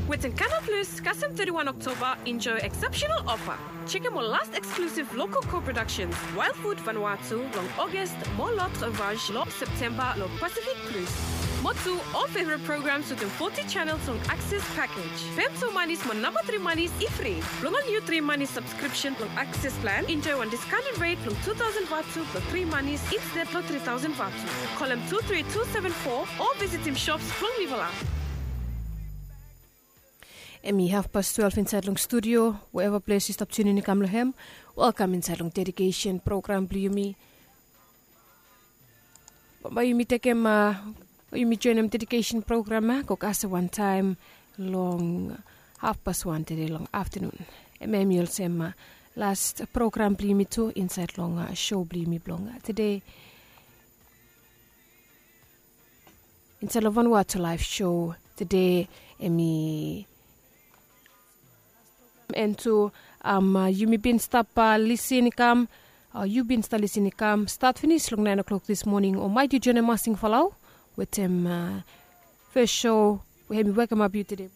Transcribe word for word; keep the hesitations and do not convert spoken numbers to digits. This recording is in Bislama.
Wetin Canal Plus kasem thirty-one October, enjoy exceptional offer. Check out more last exclusive local co-productions, Wild Food Vanuatu long August, more Lot Revenge long September long Pacific Plus. More two all favorite programs within forty channels long Access package. Pem two monies mo number three monies ifri. Long all new three money subscription long Access plan, enjoy one discounted rate long two thousand vatu long three monies instead long three thousand vatu. Call him two three two seven four or visit him shops long Mivala. Em i hafpas twelve insaed long studio. Wherever ples yu stap tunin i kam long hem, welkam insaed long dedication program blong yumi. Bambae yumi tekem, yumi joenem dedication program ya go kasem wantaem long hafpas wan tede long aftanun. Em ya em i olsem last program blong yumi tu insaed long sho blong yumi blong tede. Insaed long Vanuatu laef sho tede, em i en tu. Yumi bin stap lisin i kam, yu bin stap lisin i kam stat finis long naen o'klok dis moning o maet yu joenem masing falau wetem fes sho we hem i wekemap yu tede.